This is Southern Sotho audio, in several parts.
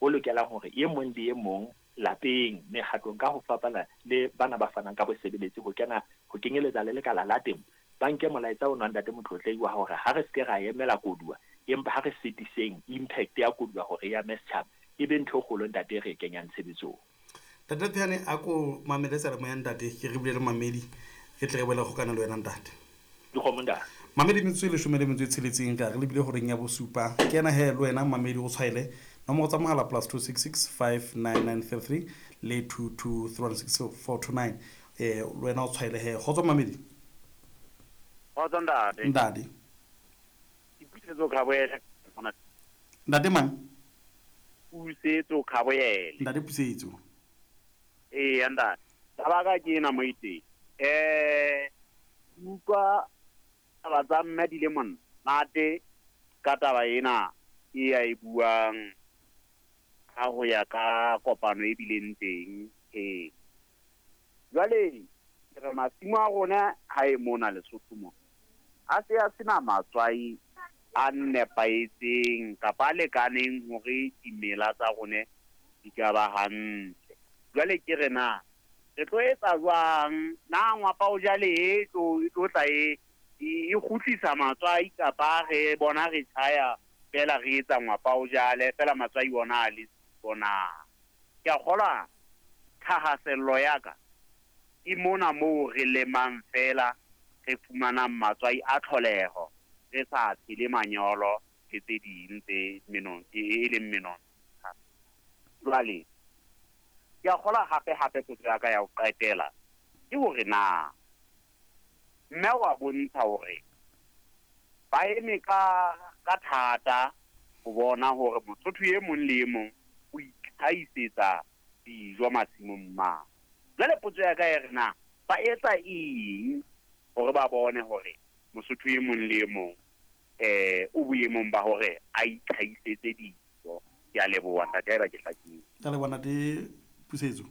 o lokelang hore e mong le e mong lapeng, mekgatlong ka ho fapana le bana ba fanang ka bosebeletsi ho kena ho kenyeletsa le lekala la temo, ba nke molaetsa ona Ntate Motlotlehi wa hore ha re se ke ra emela koduwa empa ha re fetiseng impact ya koduwa hore e ame setjhaba, e be ntho e kgolo Ntate e re e kenyang tshebetsong. Ntate Phehane a ko mamele seyalemoya ntate ke re bule le mamedi re tle re boele kgokana le wena ntate. Dikgomo ntate. Mamedi metsotso e leshome le metso e tsheletseng ka re lebile horeng ya bosupa ke ena he le wena mamedi o tshwaele nomoro tsa mohala plus 266 59933 le 22316 eh le wena o tshwaele he kgotso mamedi. Kgotso ntate. Ntate. Ke Pusetso Khaboele. Ntate mang? Pusetso Khaboele. Ntate Pusetso. Eya ntate. Taba ka ke ena mo iteng. Eh utlwa taba tsa mme di le monate ka taba ena e a e buang ka ho ya ka kopano e bileng teng ee. Jwale ke re masimo a rona ha e mona Lesotho mona a se a sena matswai a nepahetseng kapa a lekaneng hore dimela tsa rona di ka ba hantle. Jwale ke re na re tlo etsa jwang? Na ngwapa o jale e tlo e tlo tla e e kgutlisa matswai kapa re bona re tjhaya fela re etsa ngwapa o jale fela matswai ona a le siko na? Ke a kgolwa thahasello ya ka ke mona moo re lemang fela re fumanang matswai a tlholeho re sa tshele manyolo le tse ding tse menon e leng menontsha. Jwale ke a kgolwa hape hape potso ya ka ya ho qetela ke hore na mme wa bontsha hore ba eme ka ka thata ho bona hore Mosotho e mong le e mong o itlhahisetsa dijo masimong mane. Jwale potso ya ka e re na ba etsa eng hore ba bone hore Mosotho e mong le e mong eh o boemong ba hore a itlhahisetse dijo. Ke a leboha ntate haeba ke hlakile. Ka leboha ntate Pusetso.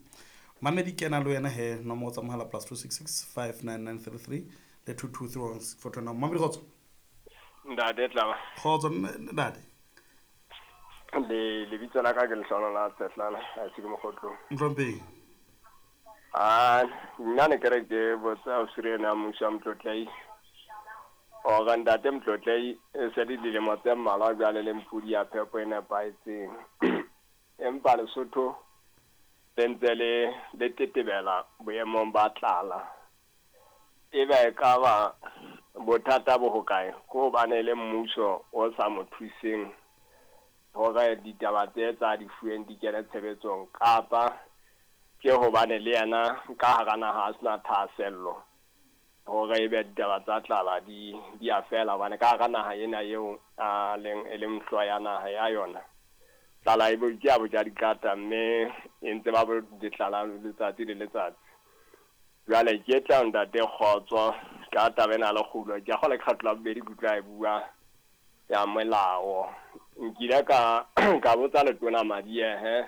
Mamedi kena le wena he nomoro tsa mohala plus 266 59933 le 2231429. Mamedi kgotso. Ntate Tlaba. Kgotso ntate. Le lebitso la ka ke Lehlono la Tsetlana, ha se ke Mokgotlong. Mhlomphehi. Ah, nna ne ke re ke botsa ausi ena mmuso wa Motlotlei. Hore ntate Motlotlei e se le dilemo tse mmalwa jwale le mpudi ya phepo e nepahetseng. Empa Lesotho le ntse le le tetebela boemong ba tlala. Ebe ekaba bothata bo hokae? Ke hobane e le mmuso o sa mo thuseng hore ditaba tse tsa di fuweng di kene tshebetsong, kapa ke hobane le yena ka hara naha a sena thahasello hore ebe ditaba tsa tlala di di a fela, hobane ka hara naha ena eo a leng e leng hlooho ya naha ya yona, tlala e bo ke ya boja dikata, mme e ntse ba bo ditlala letsatsi le letsatsi. Jwale ke tla ntate Kgotso ka taba ena ya lekgulo. Ke a kgolwa ke kgetlo la bobedi ke utlwa e bua ya molao. Nkile ka ka botsa letona Madiehe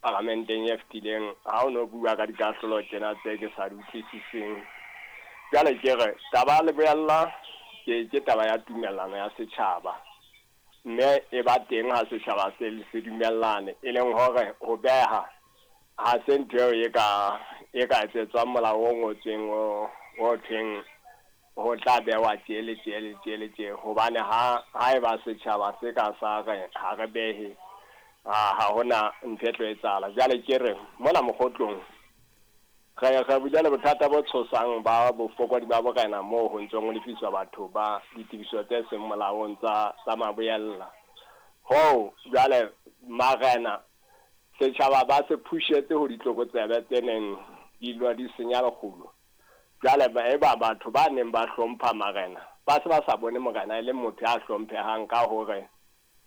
paramenteng e fetileng ha o no bua ka dikahlolo tjena tse ke sa di utlwisiseng. Jwale ke re taba ya leboella ke ke taba ya tumellano ya setjhaba, mme e ba teng ha setjhaba se se dumellane, e leng hore ho beha ha se ntho eo e ka e ka etsetswang molao o ngotsweng o o thweng ho tla behwa tje le tje le tje le tje, hobane ha haeba setjhaba se ka sa re ha re behe, ha ha hona ntho e tlo etsahala. Jwale ke re mona Mokgotlong re re bile le bothata bo tshosang ba bofokodi ba borena moo ho ntsong ho lefiswa batho ba ditefiso tse seng molaong tsa tsa maboella. Hoo jwale marena setjhaba ba se phushetse ho ditlokotsebe tse neng di lwa di senya lekgulo. Jwale eba batho ba neng ba hlompha marena ba se ba sa bone morena e le motho ya hlomphehang ka hore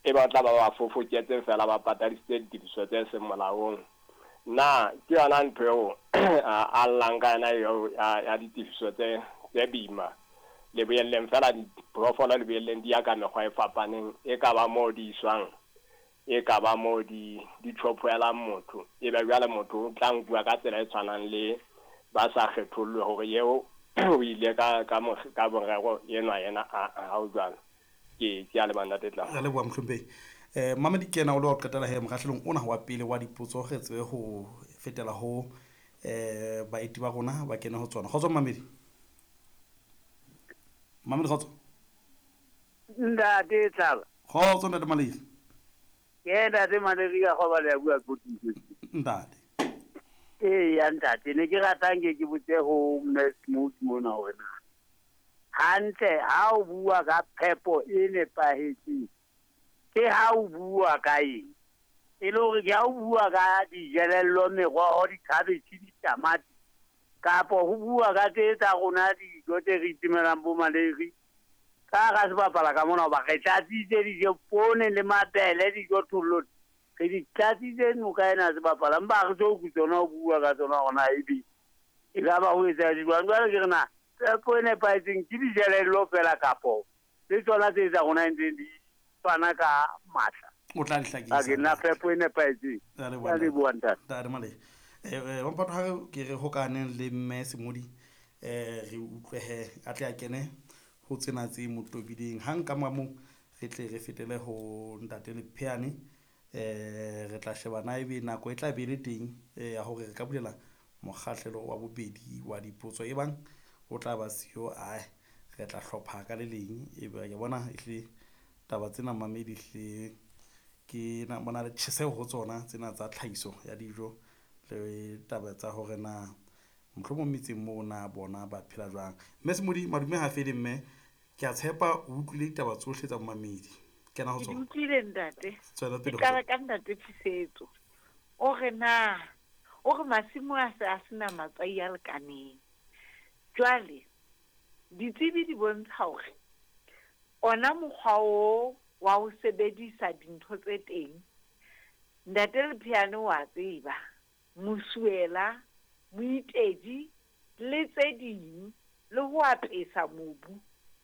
ebe o tla ba ba fofoketse feela ba patadisitse ditefiso tse seng molaong. Na ke yona ntho eo a llang ka yona eo ya ditefiso tse tse boima? Leboelleng feela diphoofolo leboelleng di ya ka mekgwa e fapaneng, e ka ba moo di iswang, e ka ba moo di di tjhophoelang motho, ebe jwale motho o tla nkuwa ka tsela e tshwanang le ba sa kgethollwe hore eo o ile ka ka ka morero enwa yena a ha o jwalo. Ke ke a leboha ntate Tlamo. Re leboha mohlomphehi. Mamedi ke yena o le wa ho qetela he mokgahlelong ona wa pele wa dipotso, re tsebe ho fetela ho baeti ba rona ba kene ho tsona. Kgotso mamedi. Mamedi kgotso. Ntate Tlala. Kgotso ntate Malegi. Ke ntate Malegi ka goba le ya bua ko Ntate. Ee ya ntate, ne ke ratang ke ke botse ho Mme Smooth mona hore na hantle ha o bua ka phepo e nepahetseng ke ha o bua ka eng? E le hore ke ha o bua ka dijelello, meroho, dikhabetjhe, ditamati, kapo ho bua ka tse tsa rona dijo tse re itemelang bo maleri ka hara sebapala ka mona, hoba re tlatsitse dijo, poone le mabele, dijo thollo re di tlatsitse noka ena sebapala, empa ha re so utlwe tsona ho bua ka tsona hore na ebe e ka ba ho etsahala jwang. Jwale ke re na phepo e nepahetseng ke dijelello fela kapo le tsona tse tsa rona ntseng di fana ka matla? O tla di hlakisa. Ke nna phepo e nepahetseng. Ke a leboha ntate. Ntate Malegi. Wamphato ha ke re hokaneng le mme Semodi, re utlwehe a tle a kene ho tsena tse mo tobileng. Hang ka mora moo re tle re fetele ho ntate Lepheane. Re tla sheba na ebe nako e tla be le teng ya hore re ka bulela mokgahlelo wa bobedi wa dipotso, ebang o tla ba siyo, ae re tla hlopha ka le leng. Ebe ke bona ehlile taba tsena mamedi ehlile ke na bona le tjheseho ho tsona tsena tsa tlhahiso ya dijo le taba tsa hore na mohlomong metseng moo na bona ba phela jwang. Mme Semodi, madume ha fele mme, ke a tshepa o utlwile ditaba tsohle tsa momamedi. Kena ho Ke di tsona. utlwile ntate. Tswela Ke pele ho qala tsona. ka ntate Phisetso. O re na, o re masimo a se a sena matswai a lekaneng. Jwale ditsebi di bontsha hore ona mokgwa o wa ho sebedisa dintho tse teng, ntate Lepheane wa tseba, mosuela, moitedi le tse ding, le ho apesa mobu.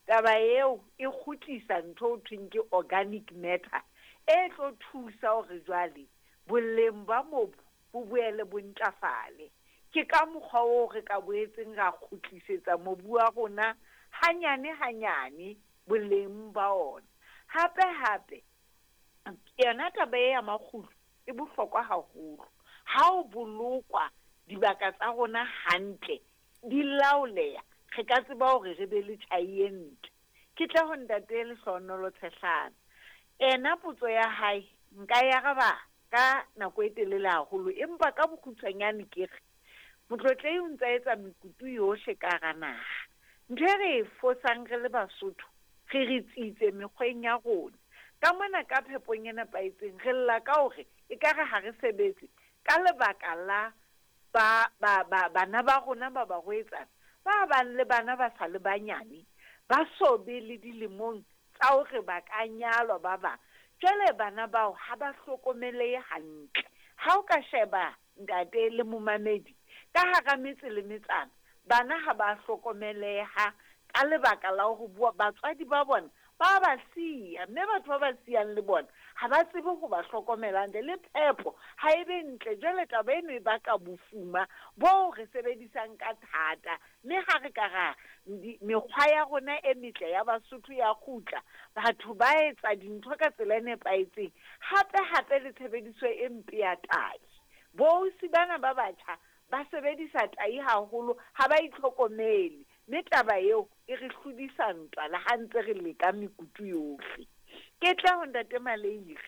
Taba eo e kgutlisa ntho ho thweng ke organic matter e tlo thusa hore jwale boleng ba mobu bo boele bo ntlafale. Ke ka mokgwa oo re ka boetseng ra kgutlisetsa mobu wa rona hanyane hanyane boleng ba ona. Hape hape yona taba e ya makgulo e bohlokwa haholo. Ha o bolokwa dibaka tsa rona hantle, di laoleha, re ka tseba hore re be le tjhai e ntle. Ke tla ho ntate Lehlohonolo Tshehlana. Ena potso ya hae nka e araba ka nako e telele haholo, empa ka bokgutshwanyane ke re motlotlehi o ntsa etsa mekutu yohle ka hara naha. Ntho e re e fosang re le Basotho, re re tsitse mekgweng ya rona. Ka mona ka phepong e nepahetseng re lla ka hore ekare ha re sebetse ka lebaka la ba ba ba bana ba rona ba barwetsana ba bang le bana ba sa le banyane, ba so be le dilemong tsa hore ba ka nyalwa ba bang. Jwale bana bao ha ba hlokomelehe hantle. Ha o ka sheba ntate le momamedi ka hara metse le metsana, bana ha ba hlokomeleha ka lebaka la hore bua batswadi ba bona ba ba siya, mme batho ba ba siyang le bona ha ba tsebe ho ba hlokomela hantle, le phepo ha e be ntle. Jwale taba eno e baka bofuma boo re sebedisang ka thata, mme ha re ka ra mekgwa ya rona e metle ya Basotho ya kgutla, batho ba etsa dintho ka tsela e nepahetseng. Hape hape le tshebediso e mpe ya tahi, boausi bana ba batjha ba sebedisa tahi haholo, ha ba itlhokomele, mme taba eo e re hlodisa ntwa le ha ntse re leka mekutu yohle. Ke tla ho ntate Maleire.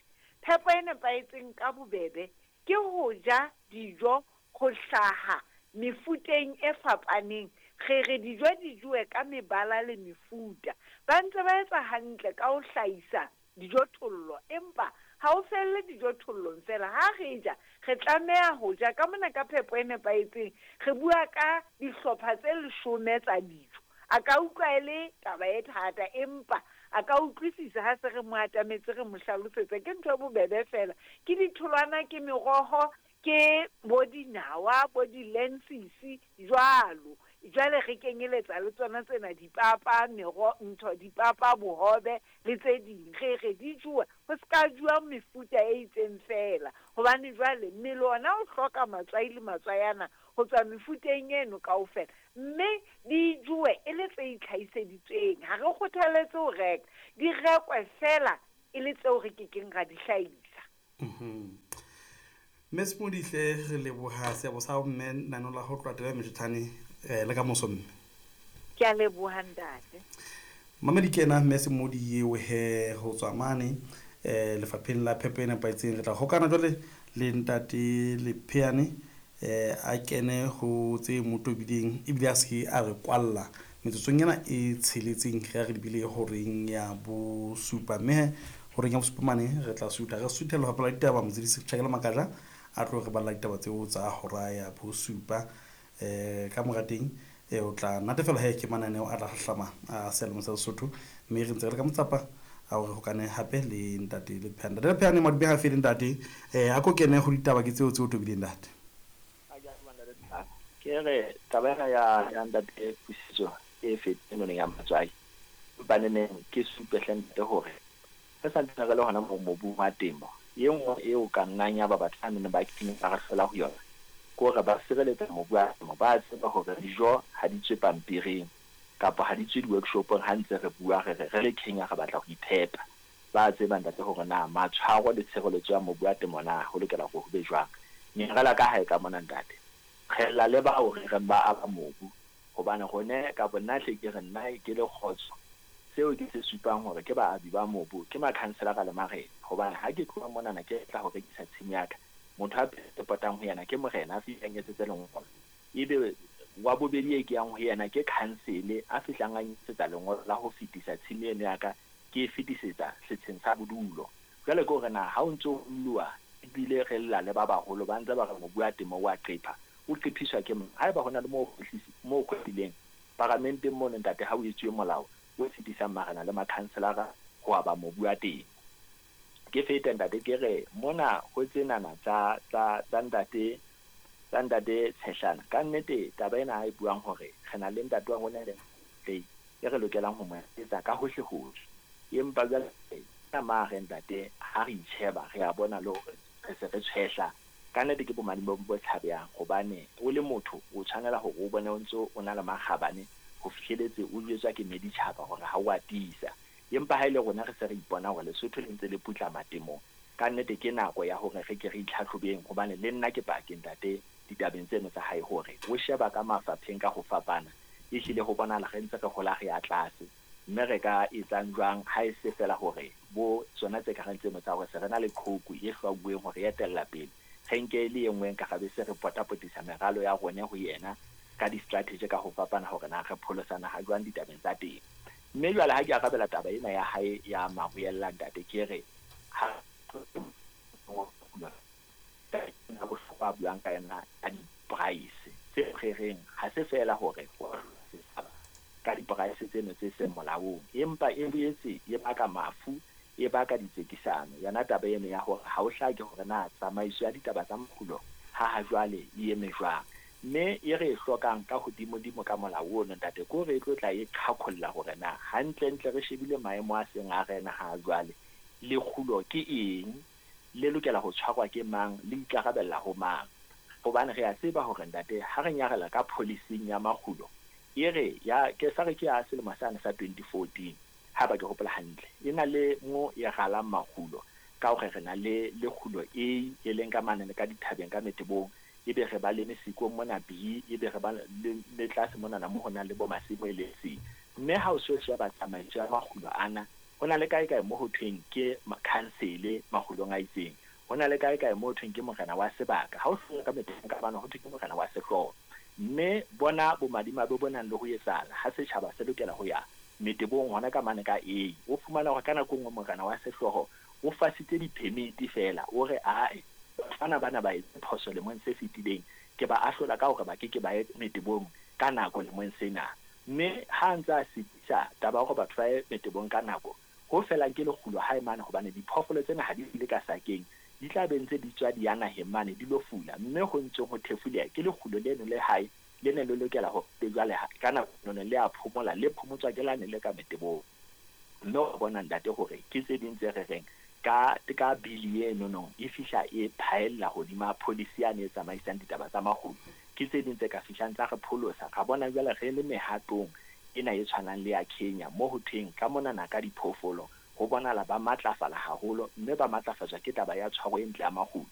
Phepo e nepahetseng ka bobebe ke ho ja dijo ho hlaha mefuteng e fapaneng. Re re dijo di jowe ka mebala le mefuta. Ba ntse ba etsa hantle ka ho hlahisa dijothollo, empa ha o felle dijothollong fela. Ha re ja, re tlameha ho ja ka mona ka phepo e nepahetseng. Re bua ka dihlopha tse 10 tsa dijo. A ka utlwa e le taba e thata, empa a ka utlwisisa ha se re mo atametse, re mo hlalosetsa. Ke ntho e bobebe fela. Ke ditholwana, ke meroho, ke bo dinawa, bo di-lensisi jwalo. Jwale re kenyeletsa le tsona tsena dipapa, mero, ntho, dipapa, bohobe le tse ding. Re re di jowe, ho ska jowa mefuta e itseng fela, hobane jwale mmele ona o hloka matswai le matswayana ho tswa mefuteng eno kaofela, mme di jowe e le tse itlhahiseditsweng. Ha re kgothaletse ho reka, di rekwe fela e le tseo re kekeng ra di hlahisa. Mme Semodihle, re leboha seabo sa hao mme nano la ho tloha tebe metjhane le ka moso mme. Ke a leboha ntate. Mamedi ke ena mme Semodi eo he ho tswa mane lefapheng la phepo e nepahetseng. Re tla hokana jwale le ntate Lepheane a kene ho tse mo tobileng ebile a se a re kwalla metsotsong ena e tsheletseng re ya re lebile horeng ya bosupa. Mme he horeng ya bosupa mane re tla sutha re suthe lefapha la ditaba Motsedisi Tjhakela Makatla a tlo re balla ditaba tseo tsa hora ya bosupa. Ka mora teng o tla natefela he ke mananeo a tla hlahlama a seyalemoya sa Lesotho, mme re ntse re le ka motsapa a hore hokane hape le ntate Lepheane. Ntate Lepheane, madume ha fele ntate. A ko kene ho ditaba ke tseo tse o tobileng ntate. Ke re taba ena ya ntate Pusiso e feteng noneng ya matswai, empa neneng ke supe hle ntate hore re santsane re le hona moo mobung wa temo. E nngwe eo ka nnang ya ba batho ba neng ba kenya ba re hlola ho yona ke hore ba sireletsa mobu wa temo. Ba tseba hore dijo ha di tswe pampiring kapa ha di tswe di-workshopong ha ntse re bua re re re le Kenya re batla ho iphepa. Ba tseba ntate hore na matshwaro le tshireletso ya mobu wa temo na ho lokela hore ho be jwang. Nyarela ka hae ka mona ntate, re lla le bao re reng ba aba mobu, hobane rone ka nna hle ke re nna ke le kgotso seo ke se supang hore ke baabi ba mobu ke makhanselara le marena. Hobane ha ke tloha monana ke tla ho rekisa tshimo ya ka, motho a pele potang ho yena ke morena a fihlang etsetse lengolo, ebe wa bobedi e ke yang ho yena ke khansele a fihlang a etsetsa lengolo la ho fetisa tshimo eno ya ka, ke e fetisetsa setsheng sa bodulo. Jwale ke hore na ha o ntso o lluwa ebile re lla le ba baholo ba ntse ba re mobu wa temo wa qepha, o qephiswa ke mang? Haeba hona le moo kgwehlileng paramenteng mono ntate, ha o etsuwe molao o fetisang marena le makhanselara ho aba mobu wa temo. Ke fete ntate ke re mona ho tsenana tsa ntate tsa ntate Tshehlana. Ka nnete taba ena ha e buang hore re na le ntate wa rona le e re lokelang ho mo etsa ka hohle hohle, empa jwale ka mare ntate ha re itjheba re a bona le hore re se re tshwehla. Ka nnete ke bomadimabe bo tshabehang, hobane o le motho o tshwanela hore o bone o ntso o na le makgabane ho fihleletse o jwetswa ke meditjhaba hore ha o a tiisa. Empa ha ile rona re se re ipona hore Lesotho le ntse le putlama temong, ka nnete ke nako ya hore re ke re itlhatlhobeng, hobane le nna ke paki ntate ditabeng tseno tsa hae hore o sheba ka mafapheng ka ho fapana, ehlile ho bonahala re ntse re hola re ya tlase. Mme re ka etsang jwang ha e se fela hore bo tsona tse ka reng tseno tsa hore se re na le qhoku e hlwauweng hore e etella pele, re nke le e nngwe nka gabe se re potapotisa meralo ya rone ho yena ka di-strategy ka ho fapana hore na re pholosana ha jwang ditabeng tsa teng. Mme jwale ha ke arabela taba ena ya hae ya Maruella ntate, ke re ha bohlokwa buang ka yona ka di-price tse re reng ha se feela hore ka di-price tseno tse seng molaong, empa e boetse e baka mafu, e baka ditsekisano. Yona taba eno ya hore ha o hlake hore na tsamaiso ya ditaba tsa makgulo ha jwale e eme jwang, mme e re e hlokang ka hodimodimo ka molao ono ntate ke hore e tlo tla e qhaqholla hore na hantlentle re shebile maemo a seng a rena ha jwale, lekgulo ke eng, le lokela ho tshwarwa ke mang, le ikarabella ho mang. Hobane re a tseba hore ntate ha re nyarela ka policing ya makgulo e re ya ke sa re ke ya selemo sane sa 2014 ha ba ke hopola hantle, e na le mo e galang makgulo ka hore re na le lekgulo A e leng ka mane le ka dithabeng ka metebong, ebe re ba le mesikong mona B, ebe re ba le tlase monana mo ho nang le bo masimo e le C. Mme ha o so sheba tsamaiso ya makgulo ana, ho na le kae kae mo ho thweng ke khansele makgulong a itseng, ho na le kae kae mo ho thweng ke morena wa sebaka, ha o hloka ka metebong ka bana ho thwe ke morena wa sehlooho. Mme bona bomadimabe bo nang le ho etsahala ha setjhaba se lokela ho ya metebong hona ka mane ka A, o fumana hore ka nako e nngwe morena wa sehlooho o fasitse di-permit fela, o re ae batho bana ba etse phoso lemong se fetileng, ke ba ahlola ka hore ba ke ke ba ye metebong ka nako lemong sena. Mme ha ntse a sitisa taba ya hore batho ba ye metebong ka nako, ho felang ke lekgulo hae mane, hobane diphoofolo tsena ha di fule ka sakeng, di tla be ntse di tswa di ya naheng mane di lo fula, mme ho ntseng ho thefuleha ke lekgulo leno le hae le ne le lokela hore jwale ka nako eno le a phomola, le phomotswa ke lane le ka metebong. Mme o bona ntate hore ke tse ding tse re reng ka bili eno no e fihla e phaella hodima policy yane e tsamaisang ditaba tsa makgulo, ke tse ding tse ka fihlang tsa re pholosa. Ra bona jwale re le mehatong ena e tshwanang le ya Kenya mo ho thweng ka monana ka diphoofolo Ho bonahala ba matlafala haholo, mme ba matlafatswa ke taba ya tshwaro e ntle ya makgulo.